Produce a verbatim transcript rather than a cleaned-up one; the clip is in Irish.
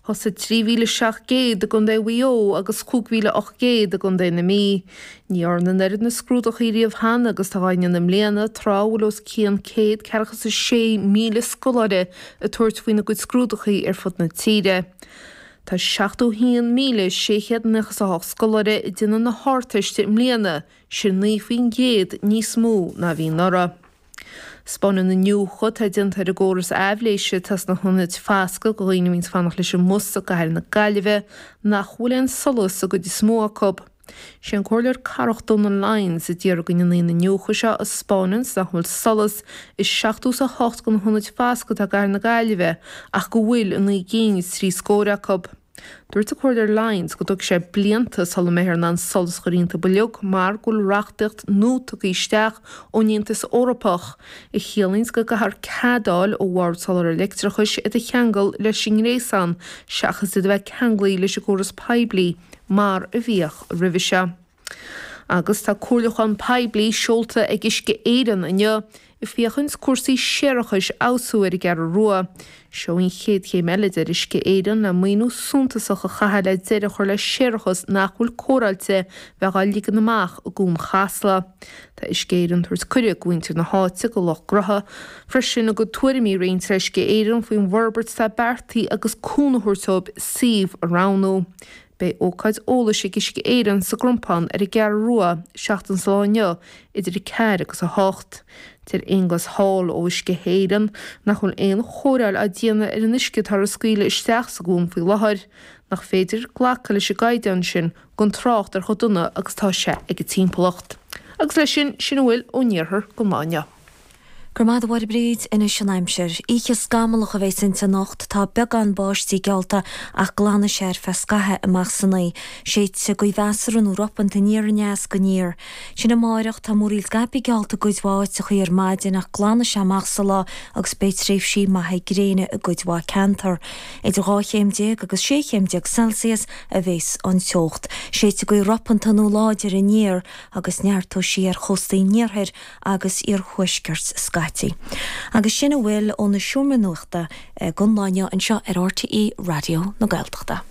Thosaigh trí mhíle seacht gcéad i gContae Mhaigh Eo agus cúig mhíle ocht gcéad i gContae na Mí. Ní dhearnadh an oiread na scrúdachaí riamh cheana agus tá á ndéanamh i mbliana, tráth a bhfuil os cionn céad ceathracha is a sé míle scoláire ag tabhairt faoina gcuid scrúdachaí ar fud na tíre. Tá seachtó haon míle sé chéad nócha is a hocht scoláire ag déanamh na hArdteiste i mbliana, sin naoi faoin gcéad níos mó ná a bhí anuraidh. 'Spáineann iniúchadh atá déanta ar an gcóras aibhléise atá sna hionaid foscaidh do dhaoine a bhíonns ag fanacht leis an mbus i gcathair na Gaillimhe nach bhfuil aon solas i gcuid is mó acu. Sé an Comhairleoir Cathrach Donal Lyons a d'iarr go ndéanfaí an iniúchadh seo a 'spáineanns nach bhfuil solas i seachtó is a hocht de na hionaid foscaidh atá i gcathair na Gaillimhe ach go bhfuil i naoi gcinn is trí scór acu. Dúirt an Comhairleoir Lyons go dtógfaidh sé blianta sula mbeifear in ann solas a chur iontu uilig mar go bhfuil reachtaíocht nua tugtha isteach ón Aontas Eorpach a chiallaíonns go gcaithfear cead a fháil ó Bhord Soláthair Leictreachais iad a cheangal leis an ngréasán seachas iad a bheith ceanglaithe leis an gcóras poiblí mar a bhíodh roimhe seo. Agus tá comhairliúchán poiblí seolta ag Uisce Éireann inniu ag féachaint cúrsaí séarachais a fheabhsú ar an gCeathrú Rua. Seo an chéad chéim eile, a deir Uisce Éireann, le maoiniú suntasach a chaitheamh le deireadh a chur le séarachas nach bhfuil cóireáilte bheith á ligean amach i gCuan Chasla. Tá Uisce Éireann ag tabhairt cuireadh do mhuintir na háite, do lucht gnótha, freisin a gcuid tuairimí a roinnt le Uisce Éireann faoin bhforbairt atá beartaithe agus cúnamh a thabhairt dóibh suíomh a roghnú. Beidh ócáid eolais ag Uisce Éireann sa gCrompán ar an gCeathrú Rua seachtain sa lá inniu idir a ceathair agus a hocht. Deir Aonghus Hall ó Uisce Éireann nach bhfuil aon chóireáil á déanamh ar an uisce atá á scaoileadh isteach sa gcuan faoi láthair, nach féidir glacadh leis an gcaighdeán sin gan trácht ar chomh dona agus atá sé ag an timpeallacht. Agus leis sin, sin a bhfuil ón iarthar don lá inniu. Go raibh maith agat a Mháire Bríd, anois an aimsir. Oíche scamallach a bheas inti anocht, tá beagán báistí geallta ach glanfaidh sé ar feadh scaithimh amach san oíche. Séidfidh gaoth mheasartha nó ropanta aniar aneas go aniar. Sin amáireach, tá múraíl scaipthe geallta i gcuid mhaith áiteachaí ar maidin ach glanfaidh sé amach sa lá agus beidh tréimhsí maithe gréine i gcuid mhaith ceantar. Idir dhá chéim déag agus sé chéim déag Celsius a bheas an teocht. Séidfidh gaoth ropanta nó láidir aniar agus neartóidh sí ar chóstaí an iarthair agus iarthuaiscirt scaití. Agus sin a bhfuil ón seomra nuachta don lá inniu anseo ar RTÉ Raidió na Gaeltachta.